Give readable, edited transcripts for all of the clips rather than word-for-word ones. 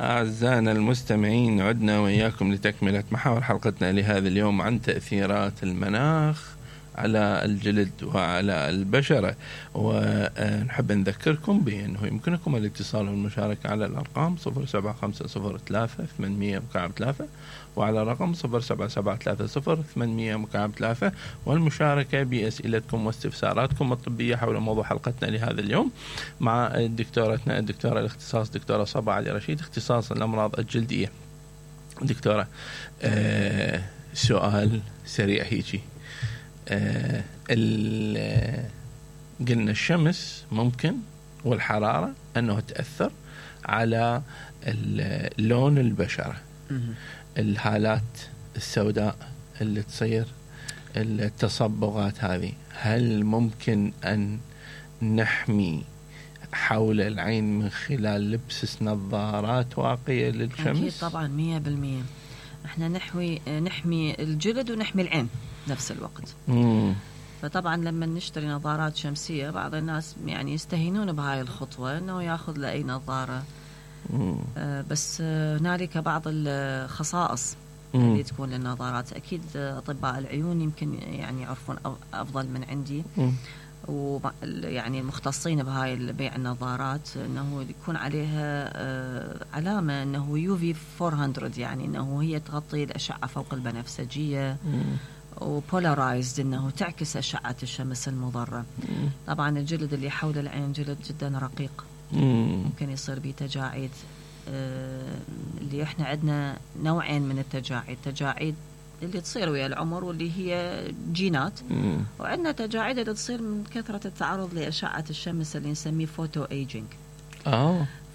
أعزائنا المستمعين، عدنا وإياكم لتكملة محاور حلقتنا لهذا اليوم عن تأثيرات المناخ على الجلد وعلى البشرة. ونحب نذكركم بأنه يمكنكم الاتصال والمشاركة على الأرقام 07503 وعلى رقم 07730 والمشاركة بأسئلتكم واستفساراتكم الطبية حول موضوع حلقتنا لهذا اليوم مع دكتورتنا الدكتورة الاختصاص دكتورة صبا علي رشيد، اختصاص الأمراض الجلدية. دكتورة، سؤال سريع هيجي. قلنا الشمس ممكن والحرارة أنه تأثر على لون البشرة، الهالات السوداء اللي تصير، التصبغات هذه، هل ممكن أن نحمي حول العين من خلال لبس نظارات واقية للشمس؟ أكيد طبعا 100%. احنا نحمي الجلد ونحمي العين نفس الوقت. فطبعا لما نشتري نظارات شمسية بعض الناس يعني يستهينون بهاي الخطوة انه ياخذ له اي نظارة، بس هنالك بعض الخصائص اللي تكون للنظارات. اكيد اطباء العيون يمكن يعني يعرفون افضل من عندي، ويعني المختصين بهاي بيع النظارات، انه يكون عليها علامة انه UV 400، يعني انه هي تغطي الاشعة فوق البنفسجية، وبولارايزد انه تعكس اشعة الشمس المضرة. طبعا الجلد اللي حول العين جلد جدا رقيق، ممكن يصير به تجاعيد. اللي احنا عندنا نوعين من التجاعيد، تجاعيد اللي تصير ويا العمر واللي هي جينات، وعندنا تجاعيد اللي تصير من كثرة التعرض لأشعة الشمس اللي نسميه فوتو ايجينج.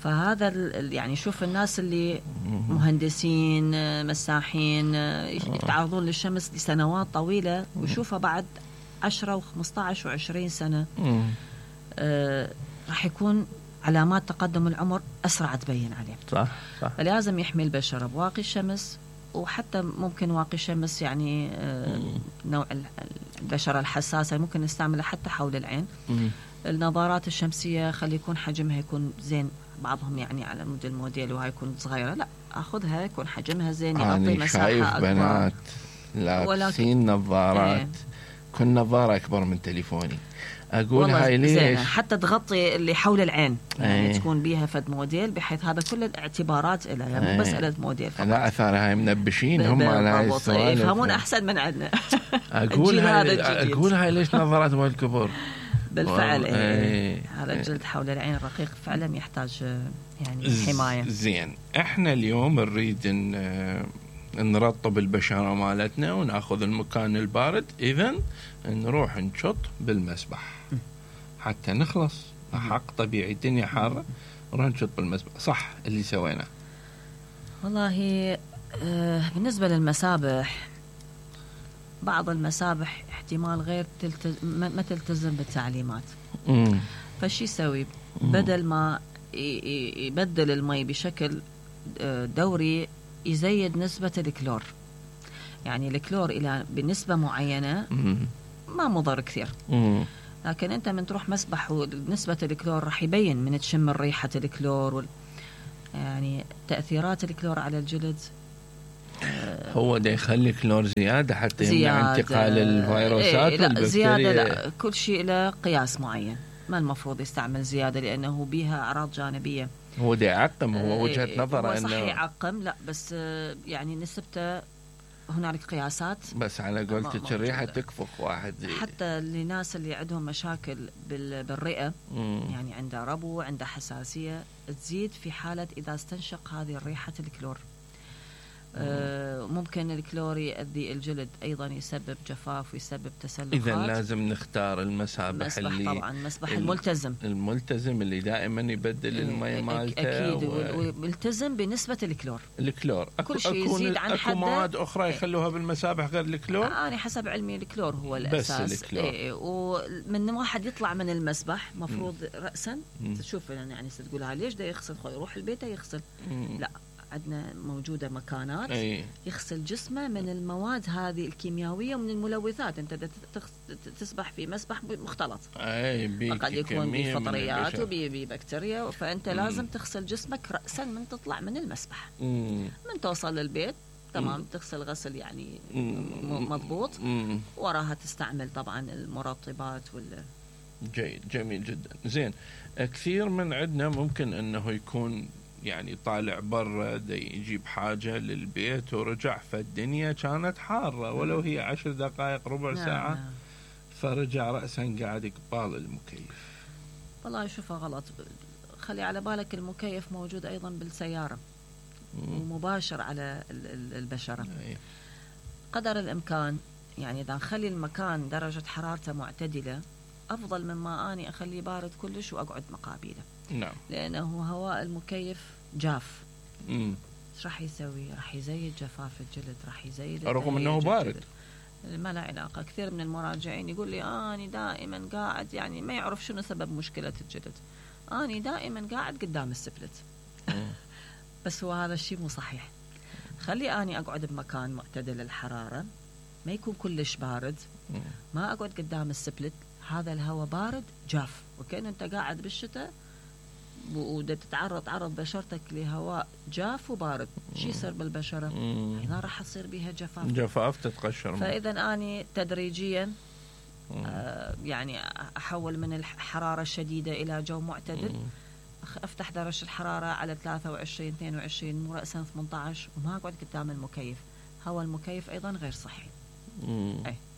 فهذا يعني شوف الناس اللي مهندسين مساحين يتعرضون للشمس لسنوات طويلة ويشوفها بعد 10 و15 و20 سنة، راح يكون علامات تقدم العمر أسرع تبين عليه. صح. فلازم يحمي البشرة بواقي الشمس، وحتى ممكن واقي الشمس يعني نوع البشرة الحساسة ممكن نستعملها حتى حول العين. النظارات الشمسية خلي يكون حجمها يكون زين، بعضهم يعني على مود الموديل وهاي يكون صغيرة، لا أخذها يكون حجمها زين يغطي مساحة شايف أكبر. بنات لابسين نظارات كل نظارة أكبر من تليفوني، أقول هاي ليش؟ حتى تغطي اللي حول العين، يعني تكون بيها فد موديل، بحيث هذا كل الاعتبارات لها، يعني مو بس موديل فقط. لا أثار هاي منبشين هم على هاي السؤال، يفهمون أحسن من عندنا. أقول هاي ليش نظارات والكبر؟ بالفعل هذا الجلد حول العين رقيق فعلا يحتاج يعني حماية. زين، احنا اليوم نريد نرطب البشرة مالتنا وناخذ المكان البارد، إذن نروح نشط بالمسبح حتى نخلص. حق طبيعي الدنيا حارة، نروح نشط بالمسبح. صح اللي سوينا. والله بالنسبة للمسابح، بعض المسابح احتمال غير ما تلتزم بالتعليمات، فشي يسوي بدل ما يبدل المي بشكل دوري يزيد نسبة الكلور. يعني الكلور إلى بنسبة معينة ما مضر كثير، لكن أنت من تروح مسبح ونسبة الكلور راح يبين من تشم ريحة الكلور يعني تأثيرات الكلور على الجلد. هو ده يخلي كلور زيادة حتى يمنع انتقال الفيروسات والبكتيريا؟ لا زيادة لا، كل شيء له قياس معين، ما المفروض يستعمل زيادة لأنه بيها أعراض جانبية. هو ده يعقم، هو وجهة نظره إنه صح يعقم، لا بس يعني نسبته هنالك قياسات. بس على قولتك الريحة تكفخ واحد حتى للناس اللي عندهم مشاكل بالرئة، يعني عنده ربو، عنده حساسية، تزيد في حالة إذا استنشق هذه الريحة الكلور. ممكن الكلور يؤذي الجلد أيضا، يسبب جفاف ويسبب تسلخات. إذا لازم نختار المسابح اللي طبعا مسبح الملتزم اللي دائما يبدل الماء مالته. أكيد وملتزم بنسبة الكلور. كل شيء يزيد عن حده. مواد أخرى يخلوها بالمسابح غير الكلور؟ أنا حسب علمي الكلور هو الأساس. بس الكلور. ومن واحد يطلع من المسبح مفروض رأسا تشوف يعني تقولها ليش ده يغسل، يروح البيت يغسل. لا، عندنا موجودة مكانات أي. يغسل جسمه من المواد هذه الكيميائية ومن الملوثات. أنت تسبح في مسبح مختلط، قد يكون بفطريات وببكتيريا، فأنت لازم تغسل جسمك رأسا من تطلع من المسبح. من توصل للبيت تمام تغسل غسل يعني مضبوط، وراها تستعمل طبعا المرطبات جيد، جميل جدا. زين، كثير من عندنا ممكن انه يكون يعني طالع برا يجيب حاجة للبيت ورجع، فالدنيا كانت حارة ولو هي 10 دقائق ربع ساعة، فرجع رأسا قاعد قبال المكيف. والله شوفها غلط. خلي على بالك المكيف موجود أيضا بالسيارة ومباشر على البشرة. قدر الإمكان يعني إذا نخلي المكان درجة حرارته معتدلة أفضل مما أني أخليه بارد كلش وأقعد مقابله. نعم. لأنه هواء المكيف جاف. ايش راح يسوي؟ راح يزيد جفاف الجلد، راح يزيد رغم أنه بارد. ما له علاقة. كثير من المراجعين يقول لي أنا دائما قاعد، يعني ما يعرف شنو سبب مشكلة الجلد، أنا دائما قاعد قدام السبلت. بس هو هذا الشيء مو صحيح. خلي أني أقعد بمكان معتدل الحرارة، ما يكون كلش بارد، ما أقعد قدام السبلت. هذا الهواء بارد جاف، وكأنه أنت قاعد بالشتاء تعرض بشرتك لهواء جاف وبارد. شو يصير بالبشرة؟ هنا راح تصير بها جفاف تتقشر. فإذا أني تدريجيا يعني أحول من الحرارة الشديدة إلى جو معتدل، أفتح درجة الحرارة على 23 22 مو رأسا 18، وما أقعد قدام المكيف. هواء المكيف أيضا غير صحي.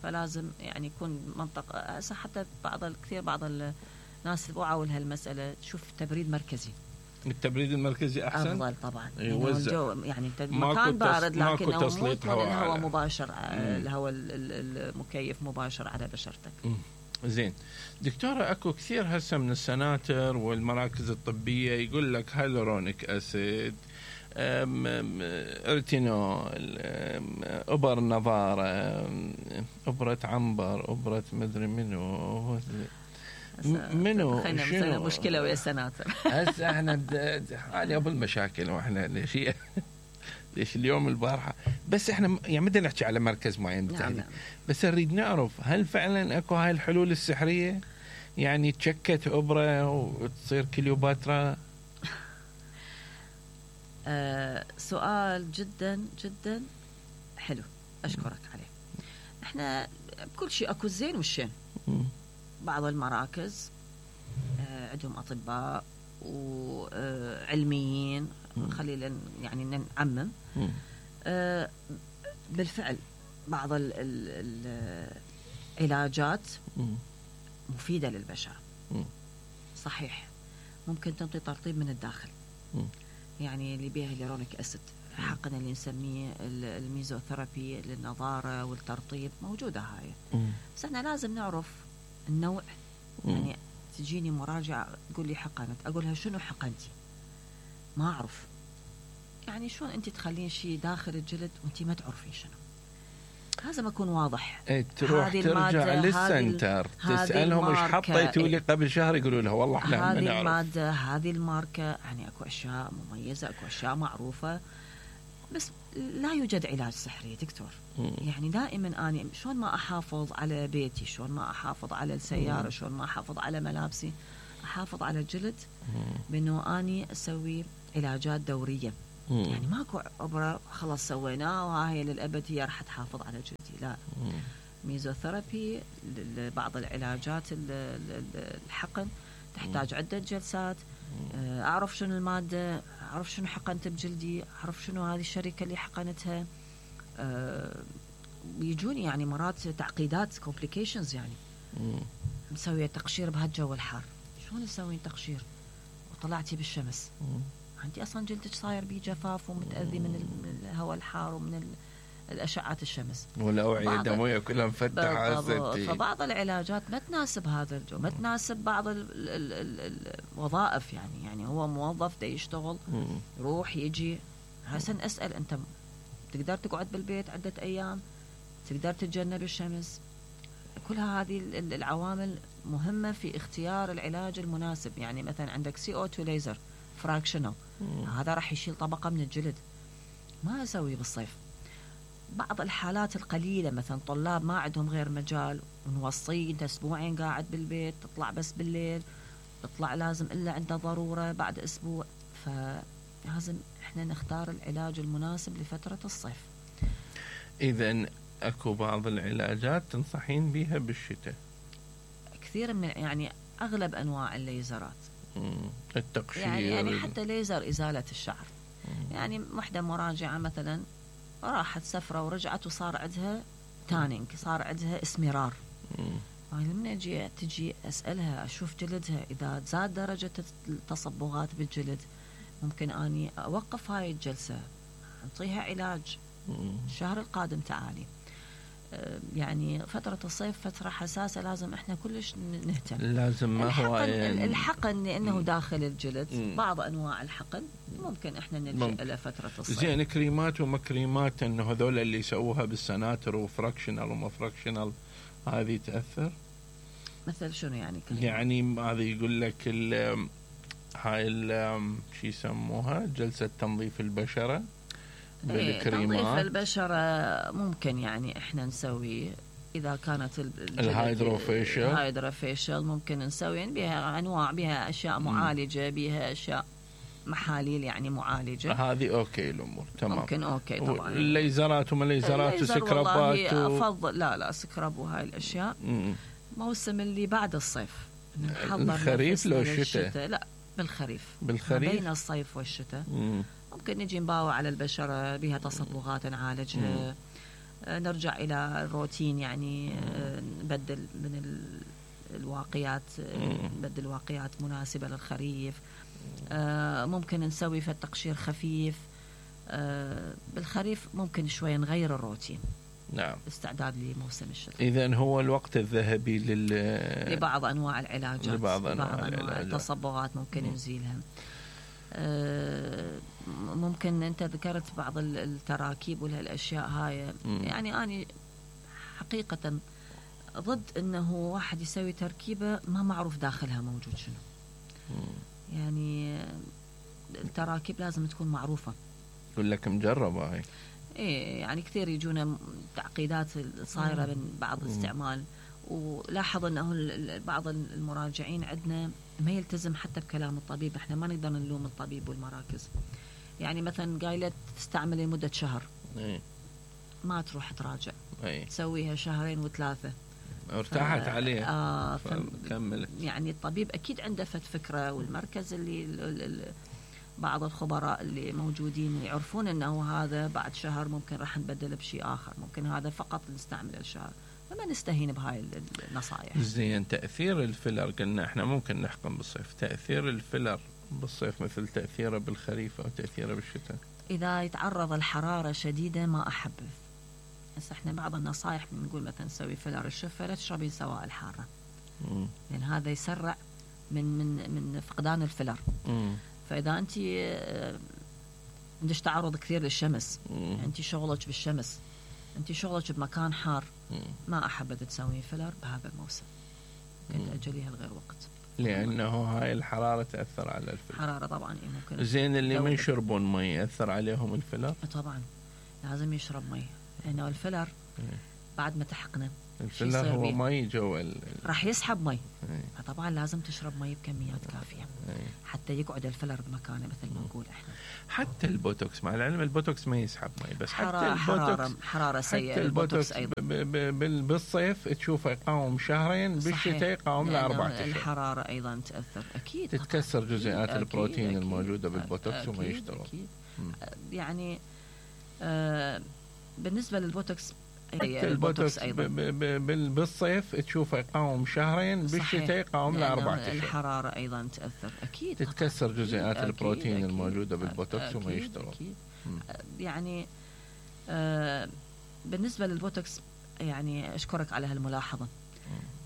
فلازم يعني يكون منطقة. حتى بعض الناس وعوا لهالمسألة، شوف تبريد مركزي. التبريد المركزي أحسن أفضل طبعا. يعني مكان بارد لكنه الهواء مباشر، الهواء المكيف مباشر على بشرتك. زين دكتورة، أكو كثير هسه من السناتر والمراكز الطبية يقول لك هيلورونيك أسيد، ارتينول، أبر نظارة، أبرة عنبر، أبرة مدري منو شنو مشكلة ويا السناتر. هسه احنا حالي ابو المشاكل، واحنا ليش اليوم البارحة بس احنا يعني بدنا نحكي على مركز معين بالتحديد. بس نريد نعرف هل فعلا اكو هاي الحلول السحرية، يعني تشكت أبرة وتصير كليوباترا؟ سؤال جدا جدا حلو، أشكرك عليه. احنا بكل شيء اكو الزين والشين. بعض المراكز عندهم أطباء وعلميين، خلينا يعني نعمم. بالفعل بعض العلاجات مفيدة للبشرة، صحيح. ممكن تنطي ترطيب من الداخل، يعني اللي بيها هيلورونيك أسيد، حقنا اللي نسميه الميزوثيرابي للنظارة والترطيب، موجودة هاي. بس احنا لازم نعرف النوع. يعني تجيني مراجعة تقول لي حقنت، أقولها شنو حقنتي؟ ما أعرف. يعني شلون أنت تخلين شيء داخل الجلد وأنت ما تعرفين شنو؟ لازم أكون واضح. تروح ترجع للسنتر تسألهم إيش حطيتوا لي قبل شهر، يقولوا لها والله إحنا ما نعرف. هذه المادة، هذه الماركة، يعني أكو أشياء مميزة، أكو أشياء معروفة، بس لا يوجد علاج سحري دكتور. يعني دائما أنا شلون ما أحافظ على بيتي، شلون ما أحافظ على السيارة، شلون ما أحافظ على ملابسي، أحافظ على الجلد بأنه أني أسوي علاجات دورية. يعني ماكو أبرة خلاص سويناه وهاي للأبد هي راح تحافظ على جلدي، لا. ميزوثيرابي، بعض العلاجات الحقن تحتاج عدة جلسات. أعرف شنو المادة، أعرف شنو حقنت بجلدي، أعرف شنو هذه الشركة اللي حقنتها. بيجوني يعني مرات تعقيدات complications، يعني مسوية تقشير بهالجو الحار. شلون تسوين تقشير وطلعتي بالشمس؟ أنت أصلا جلدك صاير بيه جفاف ومتأذي من الهواء الحار ومن الأشعة الشمس، والأوعية الدموية كلها مفتحة. فبعض العلاجات ما تناسب هذا الجو، ما تناسب بعض الوظائف. يعني هو موظف دا يشتغل، يروح يجي. حسن أسأل، أنت تقدر تقعد بالبيت عدة أيام؟ تقدر تتجنب الشمس؟ كل هذه العوامل مهمة في اختيار العلاج المناسب. يعني مثلا عندك CO2 ليزر، فراكشنال، هذا راح يشيل طبقة من الجلد، ما أسويه بالصيف. بعض الحالات القليلة مثلا طلاب ما عندهم غير مجال ونوصيه انت اسبوعين قاعد بالبيت، تطلع بس بالليل، تطلع لازم الا عنده ضرورة بعد اسبوع، فلازم احنا نختار العلاج المناسب لفترة الصيف. اذا اكو بعض العلاجات تنصحين بيها بالشتاء؟ كثير من يعني اغلب انواع الليزرات، التقشير يعني حتى ليزر ازالة الشعر. يعني وحدة مراجعة مثلا راحت سفرة ورجعت وصار عندها تانينج، صار عندها اسمرار. لما تجي أسألها أشوف جلدها إذا زاد درجة التصبغات بالجلد ممكن أني أوقف هاي الجلسة، أعطيها علاج. الشهر القادم تعالي. يعني فترة الصيف فترة حساسة، لازم احنا كلش نهتم. لازم ما هو يعني الحقن لأنه داخل الجلد، بعض أنواع الحقن ممكن احنا نلجأ إلى فترة الصيف. زين كريمات وما كريمات انه هذول اللي يسووها بالسناتر وفراكشنال وما فراكشنال هذه تأثر؟ مثل شنو يعني كريمات؟ يعني هذا يقول لك هاي شو يسموها جلسة تنظيف البشرة بالكريمات. تنظيف البشرة ممكن يعني احنا نسوي إذا كانت الهايدروفيشل ممكن نسوي يعني بها أنواع، بها أشياء معالجة، بها أشياء محاليل يعني معالجة، هذه أوكي الأمور تمام. ممكن أوكي طبعا. الليزرات وما ليزرات وسكرابات أفضل لا سكراب وهاي الأشياء موسم اللي بعد الصيف، الخريف لو الشتاء؟ لا بالخريف بين الصيف والشتاء. ممكن نجي نباوع على البشرة بها تصبغات نعالجها، نرجع إلى الروتين يعني نبدل من الواقيات، نبدل واقيات مناسبة للخريف. ممكن نسوي في التقشير خفيف. بالخريف ممكن شوية نغير الروتين. نعم. استعداد لموسم الشتاء. إذن هو الوقت الذهبي لبعض أنواع العلاجات، لبعض أنواع التصبغات ممكن نزيلها. ممكن أنت ذكرت بعض التراكيب والأشياء هاي، يعني أنا حقيقة ضد أنه واحد يسوي تركيبة ما معروف داخلها موجود شنو. يعني التراكيب لازم تكون معروفة. يقول لك مجربة هاي. إيه يعني كثير يجونا تعقيدات صايرة من بعض الاستعمال، ولاحظ أنه بعض المراجعين عندنا ما يلتزم حتى بكلام الطبيب. احنا ما نقدر نلوم الطبيب والمراكز. يعني مثلا قايلة تستعمل لمدة شهر، ما تروح تراجع، تسويها شهرين وثلاثة ارتاحت عليه كملت. يعني الطبيب أكيد عنده فكرة، والمركز اللي بعض الخبراء اللي موجودين يعرفون أنه هذا بعد شهر ممكن راح نبدل بشيء آخر، ممكن هذا فقط نستعمل الشهر، فما نستهين بهاي النصائح. زين تأثير الفيلر قلنا احنا ممكن نحكم بالصيف، تأثير الفيلر بالصيف مثل تأثيره بالخريف أو تأثيره بالشتاء؟ إذا يتعرض الحرارة شديدة ما أحبذ. بس احنا بعض النصائح بنقول مثلا نسوي فيلر الشفة لا تشربين سواء الحارة، لأن هذا يسرع من فقدان الفيلر. فإذا أنت عندك تعرض كثير للشمس، أنت شغلك بالشمس، أنت شغلك بمكان حار، ما أحبذ تسوي فيلر بهذا الموسم، كنت أجليها لغير وقت، لأنه هاي الحرارة تأثر على الفيلر. حرارة طبعا ممكن. زين اللي ما يشربون مي يأثر عليهم الفيلر؟ طبعا لازم يشرب مي، لأنه الفيلر بعد ما تحقنه الفيلر هو مي جوا راح يسحب مي، فطبعا لازم تشرب مي بكميات كافية حتى يقعد الفيلر بمكانه مثل ما نقول احنا. حتى البوتوكس مع العلم البوتوكس ما يسحب مي، بس حتى حرارة سيئة. البوتوكس أيضا بالصيف تشوفه يقاوم شهرين، بالشتاء يقاوم ل4 أشهر. الحرارة أيضا تأثر أكيد، تتكسر جزيئات البروتين الموجودة بالبوتوكس وما يشتغل. يعني بالنسبة للبوتوكس البوتوكس أيضا بالصيف تشوفه يقاوم شهرين، بالشتاء يقاوم ل4 أشهر. الحرارة أيضا تأثر أكيد، تتكسر جزيئات البروتين الموجودة بالبوتوكس وما يشتغل. يعني بالنسبة للبوتوكس يعني أشكرك على هالملاحظة.